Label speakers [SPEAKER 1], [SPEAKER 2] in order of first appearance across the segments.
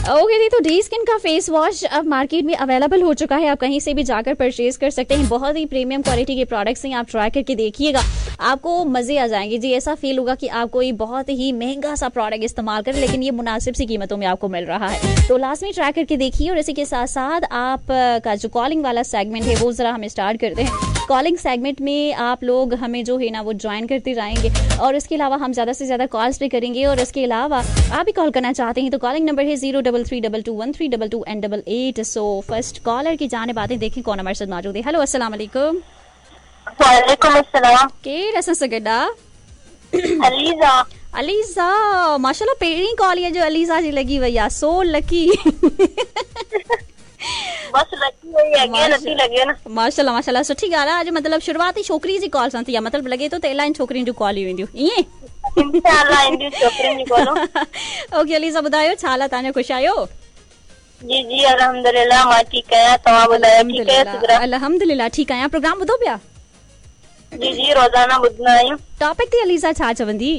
[SPEAKER 1] Okay जी, तो D skin का face wash अब मार्केट में अवेलेबल हो चुका है, आप कहीं से भी जाकर परचेज कर सकते हैं। बहुत ही प्रीमियम क्वालिटी के प्रोडक्ट्स हैं, आप ट्राई करके देखिएगा, आपको मजे आ जाएंगे जी। ऐसा फील होगा कि आप कोई बहुत ही महंगा सा प्रोडक्ट इस्तेमाल करें, लेकिन ये मुनासिब सी कीमतों में आपको मिल रहा है। तो लाजमी ट्राई करके देखिए। और इसी के साथ साथ आप का जो कॉलिंग वाला सेगमेंट है वो ज़रा हम स्टार्ट करते हैं। कॉलिंग सेगमेंट में आप लोग हमें जो है ना वो ज्वाइन करते जाएंगे और इसके अलावा हम ज़्यादा से ज़्यादा कॉल्स भी करेंगे। और इसके अलावा आप भी कॉल करना चाहते हैं तो कॉलिंग नंबर है 0333221322 एंड 88। सो फर्स्ट कॉलर की जाने बातें देखें कौन हमारे साथ मौजूद है। हेलो, अस्सलाम वालेकुम।
[SPEAKER 2] वालेकुम अस्सलाम।
[SPEAKER 1] केरु असां सां गॾु आहे?
[SPEAKER 2] अलीज़ा।
[SPEAKER 1] अलीज़ा, माशाल्लाह पहिरीं कॉल इहा जो अलीज़ा जी लॻी वई आहे, सो लकी।
[SPEAKER 2] बस लकी वई अॻियां नथी लॻे न।
[SPEAKER 1] माशाल्लाह माशाल्लाह, सुठी ॻाल्हि आहे। अॼु मतिलबु शुरुआत ई छोकिरी जी कॉल सां थी आहे, मतिलबु लॻे थो त इलाही छोकिरियुनि जूं कॉल ईंदियूं, ईअं?
[SPEAKER 2] इंशाअल्लाह ईंदियूं छोकिरियुनि जूं कॉलूं।
[SPEAKER 1] ओके अलीज़ा, ॿुधायो छा हाल आहे तव्हांजो, ख़ुशि आहियो?
[SPEAKER 2] जी जी अल्हम्दुलिल्लाह, मां ठीकु आहियां, तव्हां ॿुधायो ठीकु आहियो सिदरा?
[SPEAKER 1] अल्हम्दुलिल्लाह ठीकु आहियां। प्रोग्राम ॿुधो पिया?
[SPEAKER 2] जी जी, रोज़ाना ॿुधंदा आहियूं।
[SPEAKER 1] टॉपिक ते अलीज़ा छा चवंदी?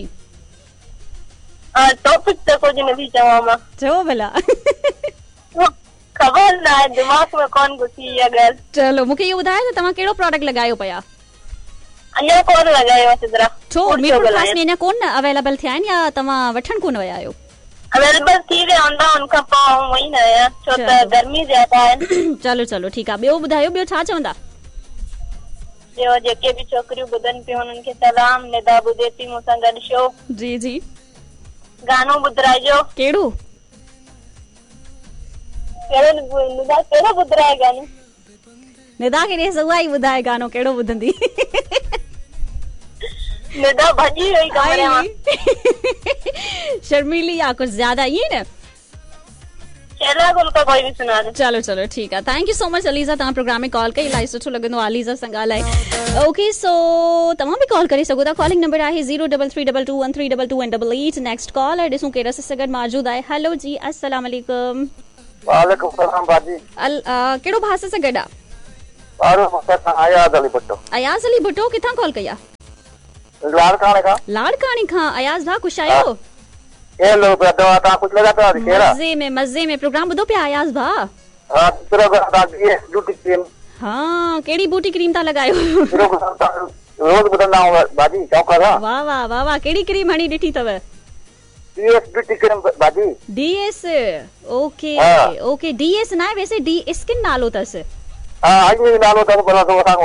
[SPEAKER 2] टॉपिक त कुझु नथी चवां मां।
[SPEAKER 1] छो भला?
[SPEAKER 2] ख़बर न आहे, दिमाग़ में कोन घुसी इहा ॻाल्हि।
[SPEAKER 1] चलो मूंखे इहो ॿुधायो त तव्हां कहिड़ो प्रोडक्ट लॻायो पिया?
[SPEAKER 2] अञा कोन लॻायो आहे सिदरा।
[SPEAKER 1] छो मीरपुर ख़ास में अञा कोन अवेलेबल थिया आहिनि या तव्हां वठण कोन विया आहियो?
[SPEAKER 2] अवेलेबल थी विया हूंदा, उनखां पोइ आउं वई न आहियां, छो त गर्मी ज़्यादा आहे।
[SPEAKER 1] चलो चलो ठीकु आहे। ॿियो ॿुधायो, ॿियो छा चवंदा?
[SPEAKER 2] ॿियो जेके बि छोकिरियूं ॿुधनि पियूं उन्हनि खे सलाम। निदा ॿुधे थी मूंसां गॾु शो।
[SPEAKER 1] जी जी,
[SPEAKER 2] गानो ॿुधाइजो।
[SPEAKER 1] कहिड़ो?
[SPEAKER 2] कहिड़ो निदा कहिड़ो ॿुधाए गानो?
[SPEAKER 1] निदा खे ॾेस उहा ई ॿुधाए गानो कहिड़ो ॿुधंदी।
[SPEAKER 2] निदा भॼी वई कमरे मां।
[SPEAKER 1] शर्मीली आहे कुझु ज़्यादा, ईअं न?
[SPEAKER 2] शैला गुल का कोई भी सुना दे।
[SPEAKER 1] चलो चलो ठीकु आहे। Thank you so much Aliza, तव्हां प्रोग्राम में कॉल कई, इलाही सुठो लॻंदो आहे अलीज़ा सां ॻाल्हाए। ओके, सो तव्हां बि कॉल करे सघो था। कॉलिंग नंबर आहे 0333221322 एंड 88। नेक्स्ट कॉल ॾिसूं केरु असां सां गॾु मौजूदु आहे। हेलो जी, अस्सलाम वालेकुम।
[SPEAKER 3] वालेकुम सलाम बाजी।
[SPEAKER 1] कहिड़ो भाउ सां गॾु आहे?
[SPEAKER 3] अयाज़ अली भुट्टो।
[SPEAKER 1] अयाज़ अली भुट्टो, किथां कॉल कई आहे?
[SPEAKER 3] लाड़काणे खां।
[SPEAKER 1] लाड़काणे खां। अयाज़ भाउ ख़ुशि आहियो?
[SPEAKER 3] हेलो, तव्हां ख़ुशि लॻा पिया?
[SPEAKER 1] मज़े में मज़े में। प्रोग्राम ॿुधो पिया अयाज़ भाउ?
[SPEAKER 3] हा, प्रोग्राम ब्यूटी क्रीम।
[SPEAKER 1] हा, कहिड़ी ब्यूटी क्रीम था लॻायो?
[SPEAKER 3] रोज़ ॿुधंदा आहियूं भाॼी, शौक़ सां।
[SPEAKER 1] वाह वाह वाह वाह, कहिड़ी क्रीम हणी ॾिठी अथव?
[SPEAKER 3] डीएस ब्यूटी क्रीम भाॼी।
[SPEAKER 1] डीएस, ओके ओके, डीएस न आहे वैसे डी स्किन नालो अथसि।
[SPEAKER 3] हा, ईअं नालो अथसि, पर असां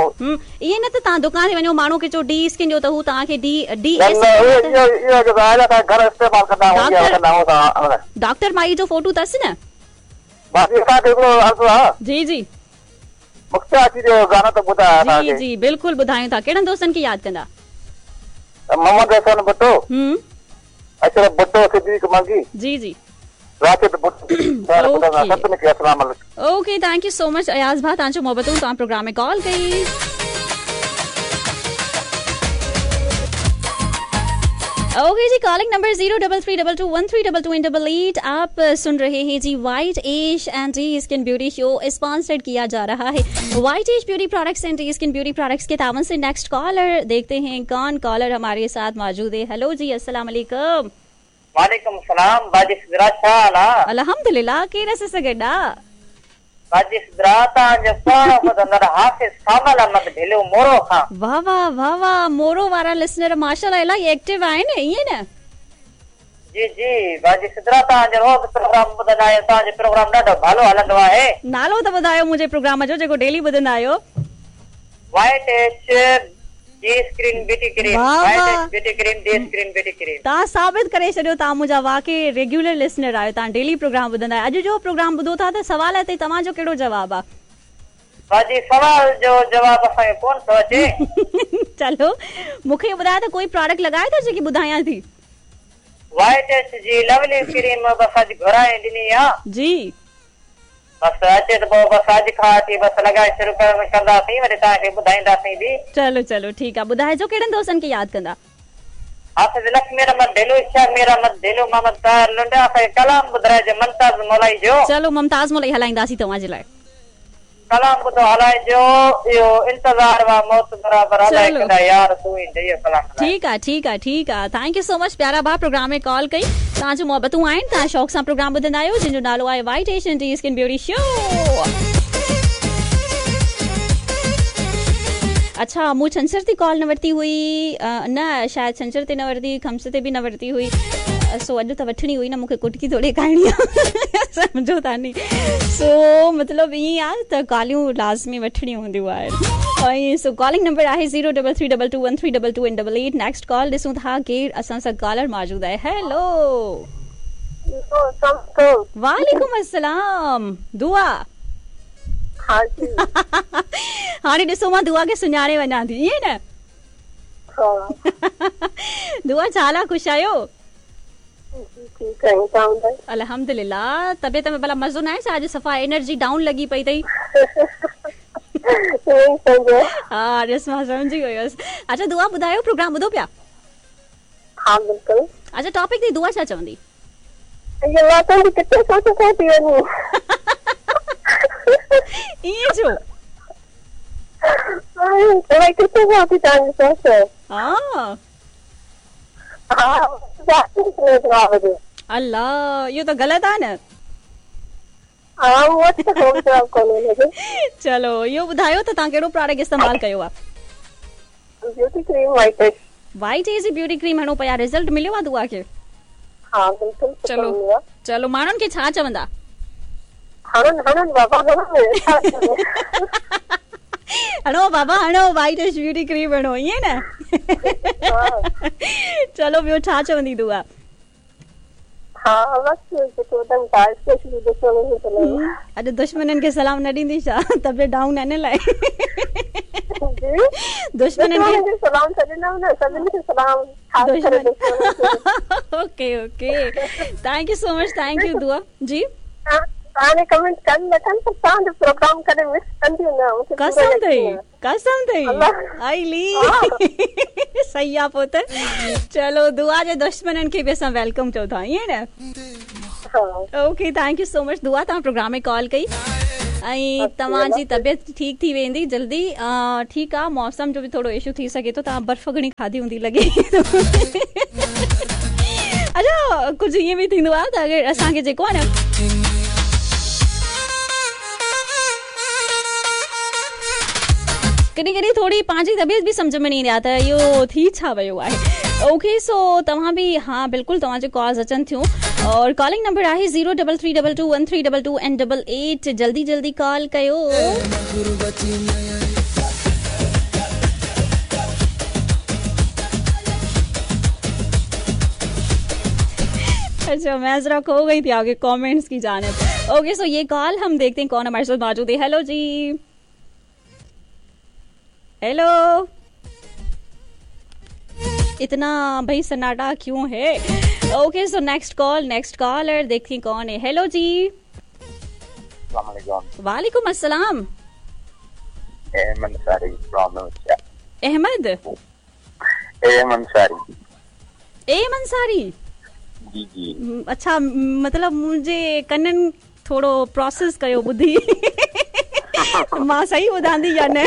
[SPEAKER 1] ईअं न त तव्हां दुकान ते वञो, माण्हू खे चओ डी स्किन ॾियो त हू तव्हांखे डी डी
[SPEAKER 3] एस इहो जेको आहे न, असां घर इस्तेमालु कंदा आहियूं।
[SPEAKER 1] डॉक्टर माई जो फोटो अथसि न?
[SPEAKER 3] बाक़ी असांखे हिकिड़ो अर्ज़ु आहे।
[SPEAKER 1] जी जी,
[SPEAKER 3] मुख्तियार जो गानो त ॿुधायो
[SPEAKER 1] असांखे। जी जी बिल्कुलु ॿुधायूं था। कहिड़नि दोस्तनि खे यादि कंदा?
[SPEAKER 3] मोहम्मद हसन भुट्टो, अशरफ भुट्टो, सिद्दीक मंगी।
[SPEAKER 1] जी जी,
[SPEAKER 3] Rashid Bhutto.
[SPEAKER 1] Okay, thank you so much Ayaz भाउ, तव्हांजो मोहबतूं, तव्हां प्रोग्राम में कॉल कई। ओके जी, कॉलिंग नंबर 0333221322 एंड 88। आप सुन रहे हैं जी white ash and D skin beauty show, sponsored किया जा रहा है white ash beauty products and D skin beauty products के तावन से। नेक्स्ट कॉलर देखते हैं कौन कॉलर हमारे साथ मौजूद है। हेलो जी, अस्सलाम वालेकुम।
[SPEAKER 4] वालेकुम सलाम बाजी सिदरा, छा हाल आहे?
[SPEAKER 1] अल्हम्दुलिल्लाह, केरु असां सां गॾु आहे?
[SPEAKER 4] बाजी सिदरा, तव्हांजो पुराणो ॿुधंदड़ हाफ़िज़ सामल अहमद ढिलो मोरो खां।
[SPEAKER 1] वाह वाह वाह वाह, मोरो वारा लिसनर माशाअल्लाह इलाही एक्टिव आहिनि, ईअं न?
[SPEAKER 4] जी जी बाजी सिदरा, तव्हांजो रोज़ प्रोग्राम ॿुधंदा आहियूं, तव्हांजो प्रोग्राम ॾाढो भालो हलंदो आहे।
[SPEAKER 1] नालो त ॿुधायो मुंहिंजे प्रोग्राम जो, जेको डेली ॿुधंदा आहियो।
[SPEAKER 4] White H D screen beauty cream, white H beauty cream, D screen beauty cream.
[SPEAKER 1] तव्हां साबित करे छॾियो, तव्हां मुंहिंजा वाकई रेगुलर लिसनर आहियो, तव्हां डेली प्रोग्राम ॿुधंदा आहियो। अॼु जो प्रोग्राम ॿुधो था त सवाल ते तव्हांजो कहिड़ो जवाबु आहे?
[SPEAKER 4] बाजी सवाल जो जवाबु असांखे कोन थो अचे।
[SPEAKER 1] चलो मूंखे ॿुधायो त कोई प्रोडक्ट लॻायो था जेकी ॿुधायां थी?
[SPEAKER 4] White H G lovely cream बसि अॼु घुराए ॾिनी आहे।
[SPEAKER 1] जी,
[SPEAKER 4] बसि अचे त पोइ बसि अॼु खां वठी बसि लॻाए शुरू कंदासीं, वरी तव्हांखे ॿुधाईंदासीं बि।
[SPEAKER 1] चलो चलो ठीकु आहे, ॿुधाइजो कहिड़नि दोस्तनि खे यादि कंदा?
[SPEAKER 4] हाफ़िज़ लक्ष्मी अहमद ढिलो, शमीर अहमद ढिलो, मोहम्मद ताहिर लुंड। असांखे कलाम ॿुधाइजो मुमताज़ मोलाई जो।
[SPEAKER 1] चलो मुमताज़ मोलाई हलाईंदासीं तव्हांजे लाइ।
[SPEAKER 4] ڪلام ٻڌو هلائجو اهو انتظار وا موت برابر الائي
[SPEAKER 1] چلو.
[SPEAKER 4] ڪڏهن يار تون ايندين اهو ڪلام هلائجو.
[SPEAKER 1] ٺيڪ آ ٺيڪ آ ٺيڪ آ thank you سو مچ پيارا ڀاء پروگرام ۾ ڪال ڪئي توهان جون محبتون آهن توهان شوق سان پروگرام ٻڌندا آهيو جنهن جو نالو آهي white Asian tea skin beauty show اڇا مون ڇنڇر تي ڪال نه ورتي هئي نه شايد ڇنڇر تي نه ورتي هئي خميس تي به نه ورتي هئي سو اڄ ته وٺڻي هئي نه مونکي ڪٽڪي ٿوري کائڻي آهي سمجهو ٿا ني سو مطلب ائين آهي ته ڪاليون لازمي وٺڻيون هونديون آهن ۽ سو ڪالنگ نمبر آهي zero double three double two one three double two and double eight next call ڏسون ٿا ڪير اسان سان ڪالر موجود آهي هيلو وعليڪم السلام دعا
[SPEAKER 2] ها جي
[SPEAKER 1] هاڻي ڏسو مان دعا کي سڃاڻي وڃان ٿي ائين نه
[SPEAKER 2] ها
[SPEAKER 1] دعا ڇا حال آ خوش آهيو
[SPEAKER 2] ٺيڪ آهيون توهان ٻڌايو.
[SPEAKER 1] الحمدلله طبيعت ۾ ڀلا مزو ناهي ڇا اڄ صفا انرجي ڊائون لڳي پئي اٿئي.
[SPEAKER 2] ائين ئي سمجهو.
[SPEAKER 1] ها ڏس مان سمجهي ويس. اڇا دعا ٻڌايو پروگرام ٻڌو پيا.
[SPEAKER 2] ها بلڪل.
[SPEAKER 1] اڇا ٽاپڪ تي دعا ڇا چوندي.
[SPEAKER 2] اي مان تنهنجي ڪٿي سوچ کان ٿي وڃي.
[SPEAKER 1] ائين ڇو.
[SPEAKER 2] الائي ڪٿي کان ٿي توهان جي سوچ.
[SPEAKER 1] ها.
[SPEAKER 2] ها
[SPEAKER 1] الله اهو ته غلط آ نه.
[SPEAKER 2] ها مون وٽ ته ڪو به جواب ڪونهي ان جو.
[SPEAKER 1] چلو اهو ٻڌايو ته توهان ڪهڙو پراڊڪٽ استعمال ڪيو آ.
[SPEAKER 2] Beauty cream white age.
[SPEAKER 1] White age جي بيوٽي ڪريم هڻو پيا رزلٽ مليو آ دعا کي.
[SPEAKER 2] ها بلڪل سٺو
[SPEAKER 1] چلو
[SPEAKER 2] مليو آ.
[SPEAKER 1] چلو ماڻهن کي ڇا چوندا.
[SPEAKER 2] هڻن هڻن بابا هڻن ڇا ٿيندو.
[SPEAKER 1] هڻو بابا هڻو وائيٽ ايج بيوٽي ڪريم هڻو ائين نه چلو ٻيو ڇا چوندي دعا.
[SPEAKER 2] ها بس جيڪو ٻڌن ٿا اسپيشلي دشمنن کي سلام.
[SPEAKER 1] اڄ دشمنن کي سلام نه ڏيندي ڇا طبيعت ڊائون آهي ان لاء.
[SPEAKER 2] جي
[SPEAKER 1] دشمنن
[SPEAKER 2] کي سلام ته ڏنم نه سڀني کي سلام خاص ڪري دشمنن کي.
[SPEAKER 1] Okay okay thank you so much thank you دعا جي.
[SPEAKER 2] توهان جي ڪمينٽ ڪن نه ڪن پر توهان جو پروگرام ڪڏهن مس ڪنديون نه مون کي پورو
[SPEAKER 1] قسم اٿئي
[SPEAKER 2] يقين آهي.
[SPEAKER 1] قسم اٿئي آئي صحيح آ پوء ته چلو دعا جي دشمنن کي به اسان welcome چئون ٿا ائين نه okay thank you so much دعا توهان پروگرام ۾ ڪال ڪئي ۽ توهان جي طبيعت ٺيڪ ٿي ويندي جلدي ٺيڪ آ موسم جو به ٿورو اشو ٿي سگهي ٿو توهان برف گهڻي کاڌي هوندي لڳي اڇا ڪجهه ائين به ٿيندو آ ته اگر اسان کي جيڪو آ نه ڪڏهن ڪڏهن ٿوري پنهنجي طبيعت به سمجهه ۾ نه ايندي آهي ته اهو ٿي ڇا ويو آهي اوڪي سو توهان به ها بلڪل توهان جون ڪالز اچن ٿيون اور ڪالنگ نمبر آهي zero double three double two one three double two and double eight جلدي جلدي ڪال ڪيو अच्छा मैं जरा खो गई थी आगे कमेंट्स की जानिब ओके सो ये कॉल हम देखते हैं कौन हमारे साथ मौजूद है हेलो जी हेलो इतना भाई सन्नाटा क्यों है okay so next call next caller देखते हैं कौन है हेलो जी वालेकुम अस्सलाम
[SPEAKER 3] Ahmed Ansari from
[SPEAKER 1] Ahmed
[SPEAKER 3] M Ansari
[SPEAKER 1] M Ansari
[SPEAKER 3] जी जी
[SPEAKER 1] अच्छा मतलब मुंहिंजे कननि थोरो प्रोसेस कयो ॿुधी मां सही ॿुधां थी या न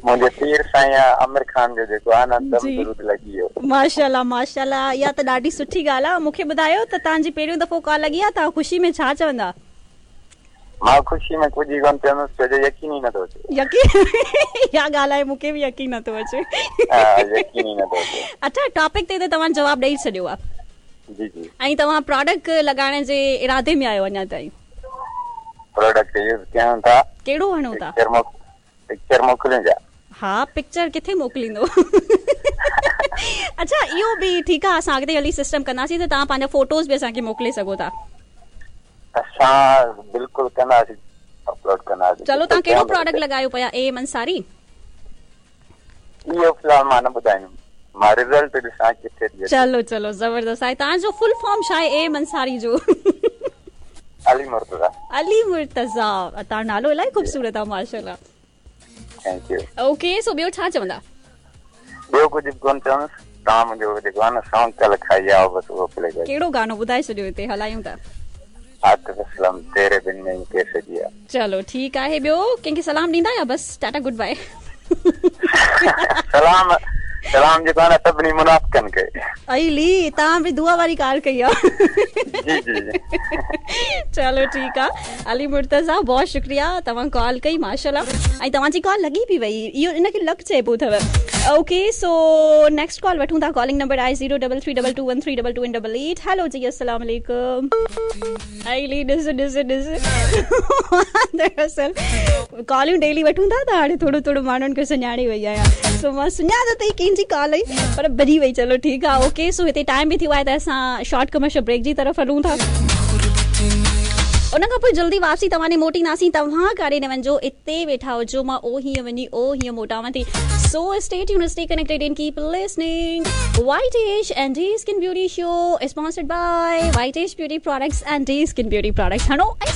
[SPEAKER 3] मुंहिंजे पीर साईं आमिर खान जो जेको आहे न दम दुरूद लॻी वियो
[SPEAKER 1] माशाल्लाह माशाल्लाह इहा त ॾाढी सुठी ॻाल्हि आहे मूंखे ॿुधायो त तव्हांजी पहिरियों दफ़ो कॉल लॻी आहे तव्हां ख़ुशी में छा चवंदा
[SPEAKER 3] मां ख़ुशी में कुझु ई कोन चवंदुसि छो जो यकीन ई नथो अचे
[SPEAKER 1] यकीन इहा ॻाल्हि आहे मूंखे बि यकीन नथो अचे
[SPEAKER 3] हा यकीन ई नथो अचे
[SPEAKER 1] अच्छा टॉपिक ते त तव्हां जवाब ॾेई छॾियो आहे
[SPEAKER 3] जी जी
[SPEAKER 1] ऐं तव्हां प्रोडक्ट लॻाइण जे इरादे में आहियो अञा ताईं
[SPEAKER 3] प्रोडक्ट यूज़ कयूं था
[SPEAKER 1] कहिड़ो हणो था
[SPEAKER 3] पिक्चर मोकिलियूं छा
[SPEAKER 1] हा पिक्चर किथे मोकिलींदो अच्छा इहो बि ठीकु आहे असां अॻिते हली सिस्टम कंदासीं त तव्हां पंहिंजा फोटोज़ बि असांखे मोकिले सघो था
[SPEAKER 3] असां बिल्कुलु कंदासीं अपलोड कंदासीं
[SPEAKER 1] चलो तव्हां कहिड़ो प्रोडक्ट लॻायो पिया एम अंसारी
[SPEAKER 3] इहो फ़िलहाल मां न ॿुधाईंदुमि मां रिज़ल्ट ॾिसां किथे थी अचे
[SPEAKER 1] चलो चलो ज़बरदस्त आहे तव्हांजो फुल फॉर्म छा आहे एम अंसारी जो
[SPEAKER 3] अली मुर्तज़ा
[SPEAKER 1] अली मुर्तज़ा तव्हां नालो इलाही ख़ूबसूरत आहे माशाल्लाह
[SPEAKER 3] thank you
[SPEAKER 1] okay so ॿियो छा चवंदा
[SPEAKER 3] ॿियो कुझु बि कोन चवंदुसि तव्हां मुंहिंजो जेको आहे न सॉन्ग कल खाई आहे बसि उहो प्ले कयो
[SPEAKER 1] कहिड़ो गानो ॿुधाए छॾियो हिते हलायूं था
[SPEAKER 3] आतिफ असलम तेरे बिन नहीं कैसे जिया।
[SPEAKER 1] चलो ठीकु आहे, ॿियो कंहिंखे सलाम ॾींदा या बसि टाटा गुड बाय?
[SPEAKER 3] सलाम सलाम जेको आहे न सभिनी मुनाफ़िकनि खे।
[SPEAKER 1] अली तव्हां बि दुआ वारी ॻाल्हि कई आहे।
[SPEAKER 3] जी जी।
[SPEAKER 1] चलो ठीकु आहे अली मुर्तज़ा, बहुत शुक्रिया तव्हां कॉल कई, माशाल्लाह। ऐं तव्हांजी कॉल लॻी बि वई, इहो इनखे लक चइबो अथव। ओके, सो नेक्स्ट कॉल वठूं था। कॉलिंग नंबर आहे 033221322 88। हेलो जी, अस्सलाम वालेकुम। अली ॾिस ॾिस ॾिस, दरअसल कॉलियूं डेली वठूं था त हाणे थोरो थोरो माण्हुनि खे सुञाणे वई आहियाँ, सो मां सुञातो त कंहिंजी कॉल आई पर भरी वई। चलो ठीकु आहे, ओके। सो हिते टाइम बि थियो आहे त असां शॉर्ट कमर्शियल ब्रेक जी तरफ़ हलूं था, उन खां पोइ जल्दी वापसी तव्हां ॾे मोटींदासीं। तव्हां काॾे न वञिजो, हिते वेठा हुजो, मां ओ हीअं वञी ओ हीअं मोटावां थी। So stay tuned, stay connected and keep listening. White Age and D Skin Beauty Show is sponsored by White Age Beauty Products and D Skin Beauty Products. हणो ऐं